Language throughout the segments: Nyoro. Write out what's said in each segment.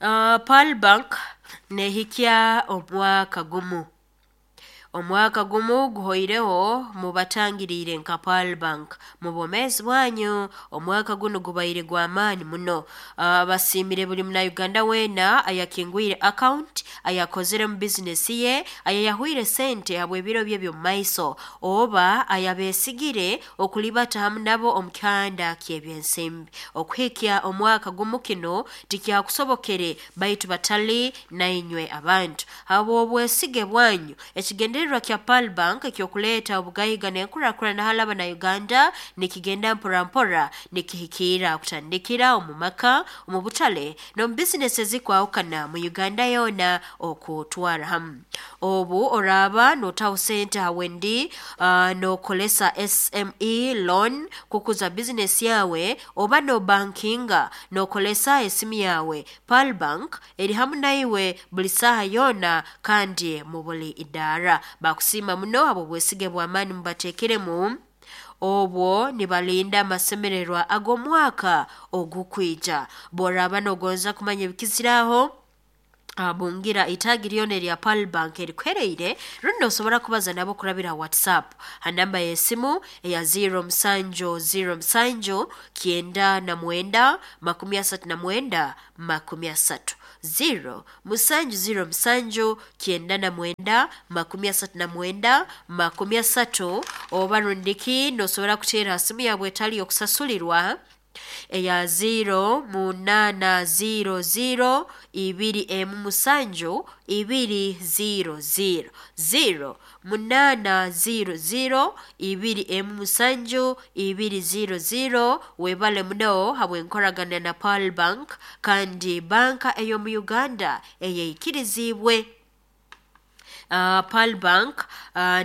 Pearl Bank nehikya omwaka gumu. Omwaka gumu guhoireho mubatangiriire nka Pearl Bank mu bwomeezi bwanyu. Omwaka gunu gubaire gw'amaani muno. Basiimire buli Munauganda weena ayakingwire account, ayakozere mu bizinesi ye, ayayahwire sente habw'ebiro bye eby'omu maiso, oba ayabeesigire okulibata hamu nabo omu kihanda ky'ebyensimbi. Okuhikya omwaka gumu kinu tikyakusobokere baitu batali nainywe abantu. Habw'obwesige bwanyu, ekigendererwa kya Pearl Bank eky'okuleeta obugaiga n'enkurakurana hali Abanauganda nikigenda mpora mpora nikihikiira kutandikira omu maka, omu butale n'omu bizinesi ezikwahukana mu Uganda yoona okutwara hamu. Obu oraaba nootaho sente ha Wendi nookolesa SME loan kukuza bizinesi yawe oba noobankinga nookolesa esimu yawe, Pearl Bank eri hamu naiwe buli saaha yoona kandi mu buli idaara. Bakusiima muno habw'obwesige bw'amaani mubateekeremu obwo nibalinda amasemererwa ag'omwaka ogukwija. Bw'oraaba noogonza kumanya ebikiziraho, bungira itaagi lyona erya Pearl Bank erikuhereire rundi noosobora kubaza nabo kurabira ha WhatsApp ha namba y'esimu eya 0707 99 39 30. 0 707 99 39 30 oba rundiki noosobora kuteera ha simu yaabwe etali y'okusasulirwa eya 0 8 0 0 2 1 7 2 0 0 0 8 0 0 2 1 7 2 0 0. Webale muno habw'enkoragana na Pearl Bank kandi banka ey'omu Uganda eyeikiriziibwe. Pearl Bank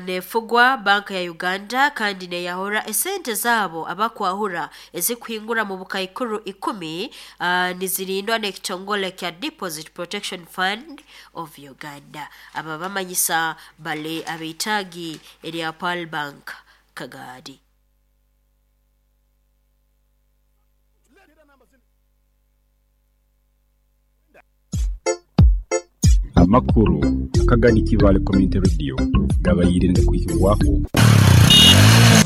nefugwa banka ya Uganda kandi neyahura esente zaabo abakwahura ezikuhingura mu bukaikuru 10, nizirindwa n'ekitongole kya Deposit Protection Fund of Uganda. Aba bamanyisa bali ab'itaagi erya Pearl Bank Kagaadi. Amakuru akagani Kibaale Community Radio gabaire nigakwihibwaho.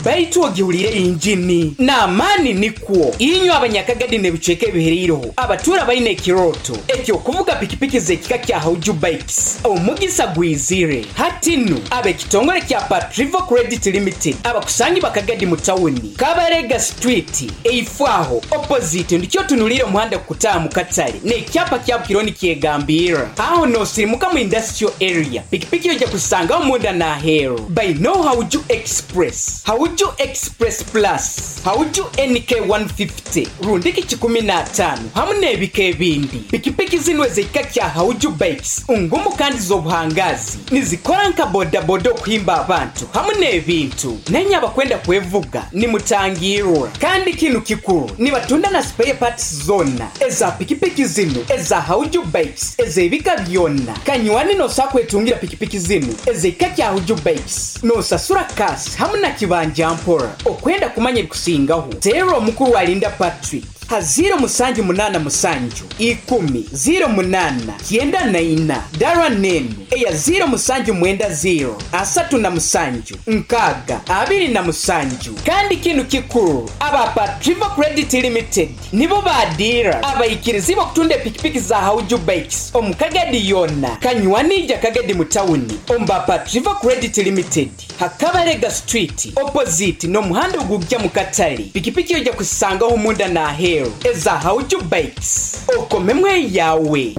Baitu ogihuliire yingini n'amaani nikwo inywe Abanyakagadi n'ebicweka ebihereireho abatuura baine ekirooto eky'okuvuga pikipiki z'ekika kya Hauju Bikes. Omugisa gwizire hati nu ab'ekitongole kya Patrivo Credit Limited abakusangibwa Kagadi mu tawuni, Kabarega Street, eifo aho opposite ndikyo otunuliire omuhanda kukutaaha mu katale n'ekyapa kyabu kiriho nikyegambirra. Aho n'osirimuka mu Industrial Area, pikipiki oija kuzisangaho munda n'aheeru. Bainegho Hauju Express, Hauju Express Plus, Hauju NK 150 rundiki kikumi n'ataano hamu n'ebika ebindi. Pikipiki zinu ez'ekika kya Hauju Bikes ngumu kandi z'obuhangaazi. Nizikora nka bodaboda okuhimba abantu hamu n'ebintu. Nainye abakwenda kwevuga nimutangirwa. Kandi kinu kikuru, nibatunda na spare parts zoona eza pikipiki zinu eza Hauju Bikes ez'ebika byona. Kanywani nosobola kwetungira pikipiki zinu ez'ekika kya Hauju Bikes nosasura cash hamu na kibanja mpora. Okwenda kumanya ebikusingaho, teera omukuru Alinda Patrick ha ziiro musanju munaana musanju ikumi ziiro munaana kyenda na ina dara n'enu eya ziiro musanju mwenda ziiro asatu na musanju nkaaga abiri na musanju. Kandi kinu kikuru, aba Patrivo Credit Limited nibo ba diira abaikirizibwa okutunda epikipiki za Hauju Bikes omu Kagadi yoona. Kanywani ija Kagadi mu tawuni omu ba Patrivo Credit Limited ha Kabalega Street opposite n'omuhanda ogugya mu katale. Pikipiki oija kuzisangaho munda n'aheeru eza Hauju Bikes. Okomemu eyawe.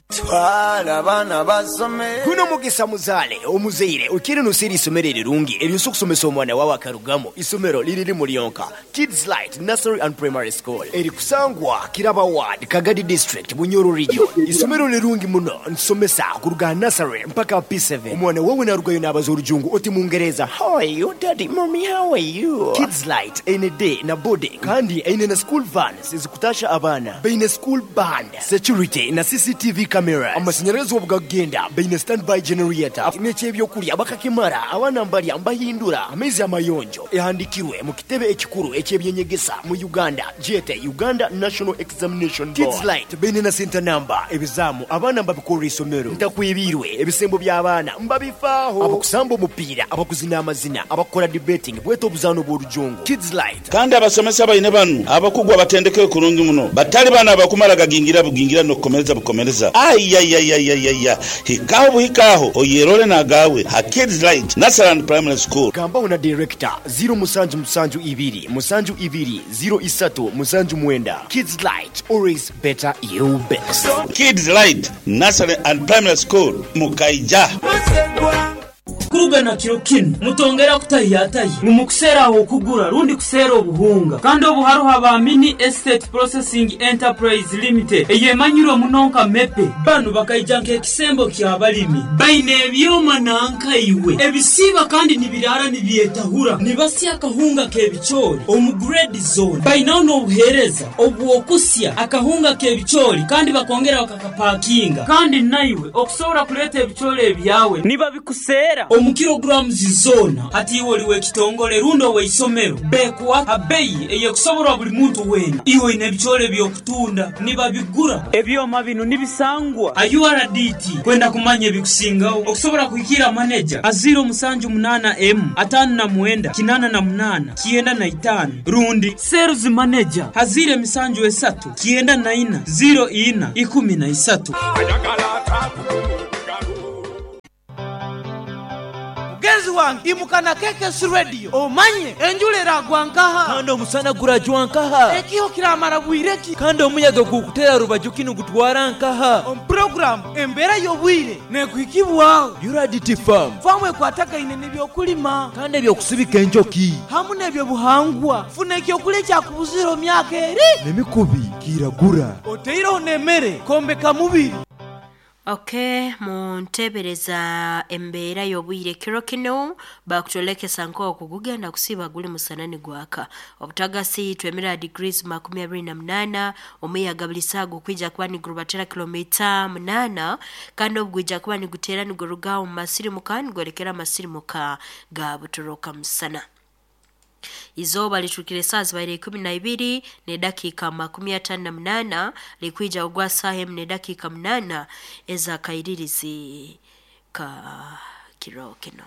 Twala abaana basome. Guno mugisa muzaale omuzaire okiire noseera eisomero erirungi eryosobola okusomesa omwana wawe akarugamu. Isomero liri limu lyonka, Kids Light Nursery and Primary School erikusangwa Kiraba Ward, Kagadi District, Bunyoro Region. Isomero lirungi muno, nitusomesa kuruga aha nursery mpaka aha P7. Omwana wawe narugayo nabaza orujungu oti Mungereza, How are you daddy, mummy how are you? Kids Light eine day na boarding kandi eine na school vans ezikutasha abaana. Baine school band, security na CCTV cameras. Cameras. Amasanyalazi obugagenda baine standby generator. N'ekyebyokulya bakakimara abaana mbalya mbahindura amaizi amayonjo ehandikirwe mu kitebe ekikuru ekyebyenyegesa mu Uganda gyete Uganda National Examination Board. Kids Light baine na center number ebizaamu abaana mbabikorra isomero ntakwibirwe ebisembo by'abaana mbabifaaho abakusamba omupiira abakuzina amazina abakukora debating bwete obuzaano bw'orujungu. Kids Light. Kandi abasomesa baine banu abakugu abatendekeyo kurungi muno, batali banu abakumara gagingira bugingira n'okukomereza bukomereza. Aiyaiyaiyaiya, hikaho buhikaho oyerole nagawe ha Kids Light Nursery and Primary School. Gambaho na director 0772 72 03 79. Kids Light, always better you best. Kids Light Nursery and Primary School, Mukaija. Kuruga na kiro kinu mutongera kutahiyatahi ngu mukuseera aho okugura rundi kuseera obuhunga kandi obu haruho aba Mini Estate Processing Enterprise Limited eyemanyirwe muno nka MEPE. Banu bakaija nk'ekisembo ky'abalimi baine ebyoma nankaiwe ebisiiba kandi nibiraara nibyetahura nibasya akahunga k'ebicoori omu grade zone. Bainaho n'obuheereza obw'okusya akahunga k'ebicoori kandi bakongera bakakapakinga kandi naiwe okusobora kuleeta ebicoori ebyawe nibabikuseera omu kilograms zona. Hati iwe oli w'ekitongole rundi ow'eisomero bekuwa abeyi eyekusoborwa buli muntu weena. Iwe oine ebicoori eby'okutunda nibabigura. Ebyoma binu nibisangwa a URDT. Kwenda kumanya ebikusingaho okusobora kuhikira maneja a 078 M 59 88 95 rundi sales manager a 073 94 04 13. Mugenzi wange imuka na KKS Radio omanye enjura eragwa nkaha kandi omusana gurajwa nkaha ekiho kiramara bwireki kandi omuyaga gukutera rubaju kinu gutwara nkaha. Omu program embeera y'obwire nekuhikibwaho URDT Farm famu ekwatagaine n'ebyokulima kandi ebyokusibika enjoki hamu n'ebyobuhangwa. Funa ekyokulya ekyakubuzire omu myaka eri n'emikubi kiragura oteireho n'emmere kombeka mubiri. Okay, muntebereza embeera y'obwire kiro kino bakutolekesa nk'oku gugenda kusiba guli musanani gwaka obutagasi twemera degrees 28 omuyaga buli saaga okwija kuba nigurubatera kilomita 8 kandi obugwija kuba nigutera niguruga omu masirimuka nigwerekera amasirimuka ga butoroka musana. Izooba litukire saa zibaire 12 ne dakika 58 likwija ogwa saa 4 ne dakika 8 ezakairirizi ka kiro kino.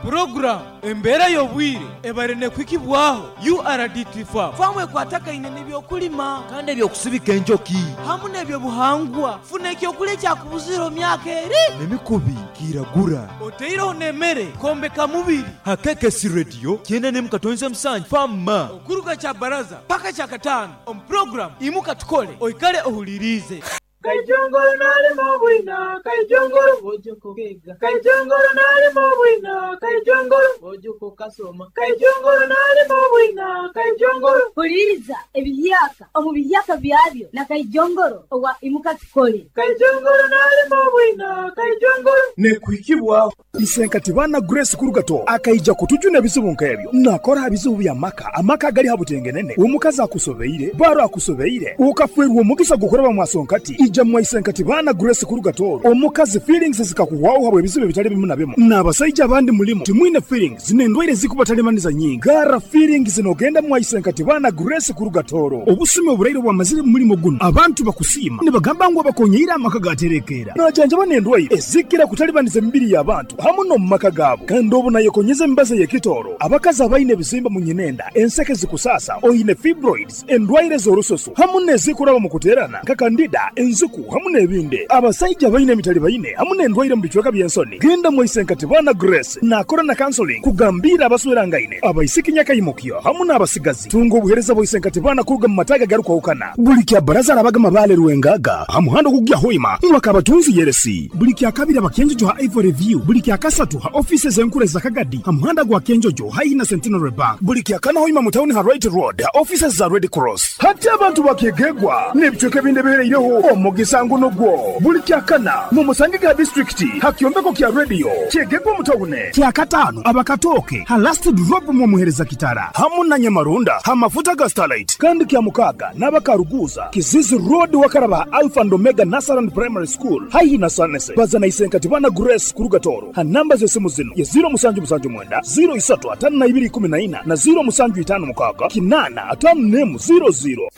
Program embeera y'obwire ebare nekwikibwaho URDT Farm famu ekwatagaine n'ebyokulima kandi ebyokusibika enjoki hamu n'ebyobuhangwa. Funa ekyokulya ekyakubuzire omu myaka eri n'emikubi kiragura oteireho n'emmere kombeka mubiri. Ha KKS Radio 97.7 Fama okuruga kya baraza paka kya katano omu program imuka tukole oikale ohulirize. Kaijongoro nalimo bwina, kaijongoro bojoko kega. Kaijongoro nalimo bwina, kaijongoro bojoko kasoma. Kaijongoro nalimo bwina, kaijongoro. Huliriza ebiyaka omu biyaka byabyo na kaijongoro owa imuka tukole. Kaijongoro nalimo bwina, kaijongoro. Nekuhikibwa Isenkati bana Grace Kurugato akaija kutujuna ebizibu nk'ebyo nakora ebizibu bya maka amaka gali habutengenene omukazi akusobeire baro akusobeire ukafwerwa omugisa gukoraba mwasonkati ija mwaisenkati bana Grace Kurugato omukazi feelings zikakuwaho habwe ebizibu bitali bimu na bimu n'abasajja abandi mulimo timwine feelings n'endwaire zikubatalemaniza nyingi gara feelings nogenda mwaisenkati bana Grace Kurugatoro obusime oburaire bwamazire mu mulimo guno abantu bakusiima nibagamba ngu abakonyeira amaka gaterekera najanjaba n'endwaire ezikira kutalibaniza emibiri y'abantu hamu no mu maka gaabo kandi obu nayekonyeza emibazi y'ekitoro abakazi abaine ebizimba mu nyinenda enseke zikusasa oine fibroids endwaire z'orususu hamu n'ezikuraba mu kuterana nka kandida enzuku hamu n'ebindi abasajja baine emitali baine hamu n'endwaire mu bicweka by'ensoni genda mwaisenkati bana Grace nakora na counseling kugambira abaswerangaine abaisiki nyakayimukyo hamu n'abasigazi tunga obuhereza bwaisenkati bana kuruga mu mataga garukwahukana buli kya baraza arabaga mabale rwengaga hamuhando kugya hoima mwakabatunzi yeresi buli kya kabiri abakenjojo ha Ivory View buli kya kasatu ha offices enkure za Kagadi hamuhanda gwa Kenjojo haina Centenary Bank buli kya kana hoima mu town ha Right Road ha offices za Red Cross hati abantu bakegegwa n'ebicweka ebindi bihereireho omu Omugisa nguno gwo buli kyakana mu musange ga disitulikiti ha kyombeko kya rediyo kyegegwa omutawune. Kyakataano abakatooke ha last drop mwomuhereza kitara hamu na Nyamarunda ha mafuta ga Starlight, kandi kya mukaaga n'abakaruguza Kizizi Road wakaraba Alpha and Omega Nursery and Primary School haihi na Sanese. Baza na Isenkati bana Grace kuruga Toro ha namba z'esimu zino ye 0779 0352 14 na 0756 851 00.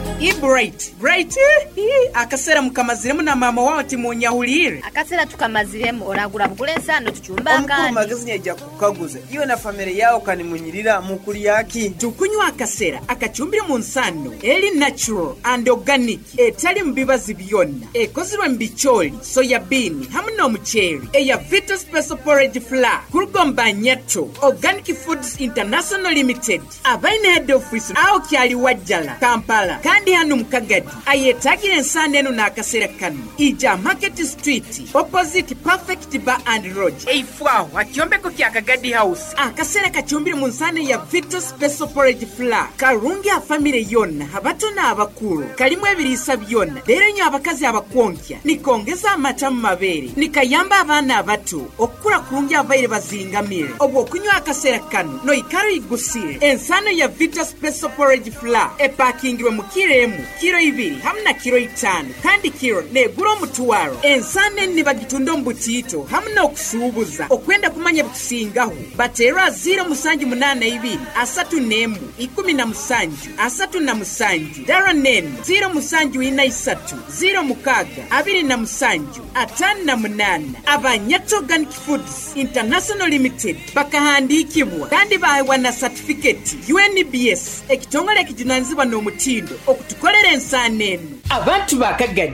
Bright, Bright, akasera mukamaziremu na mama wawe timunyahulire. Akasera tukamaziremu oragura bugule ensano tuchumba. Omukuru akandi. Magezi nyaija kukaguza iwe na famire yawe kanimunyirira mukuli yaki. Tukunywa akasera akachumbire mu nsano eri natural and organic, etali mu bibazi byonna, ekozirwe mu bicholi, soya bean hamu n'omuceeri, eya Vita Special Porridge Flour kuruga Nyato Organic Foods International Limited, abaine head office aho kyali Wajjala, Kampala, kandi hano mukagadi ayetagira ensano eno n'akasera kano ija Market Street opposite Perfect Bar and Lodge, eifwaho akyombeko kya Kagadi House. Akasera kachumbire mu nsano ya Vita Special Porridge Flour karungi afamire yonna, abato n'abakulu, kalimu ebiriisa byonna. Leero nyo abakazi abakwonkya nikongeza amata mu mabeere, nikayamba abaana abato okukula kurungi abaire bazingamire. Obwo okunywa akasera kano noikara igusire. Ensano ya Vita Special Porridge Flour epakingirwe mu kiro emu, kiro 2 hamu na kiro 5, kandi kiro negura omutwaro. Ensano eni nibagitunda omu butiito hamu n'okusuubuza. Okwenda kumanya bikusingaho bateerwa 0782 31 17 37, dara nenu 0743 06 27 58. Abanyato Organic Foods International Limited bakahandikibwa kandi baheebwa na satifiketi UNBS, ekitongole ekijunanizibwa n'omutindo okutukolera ensaano eno. Abantu bakagadi.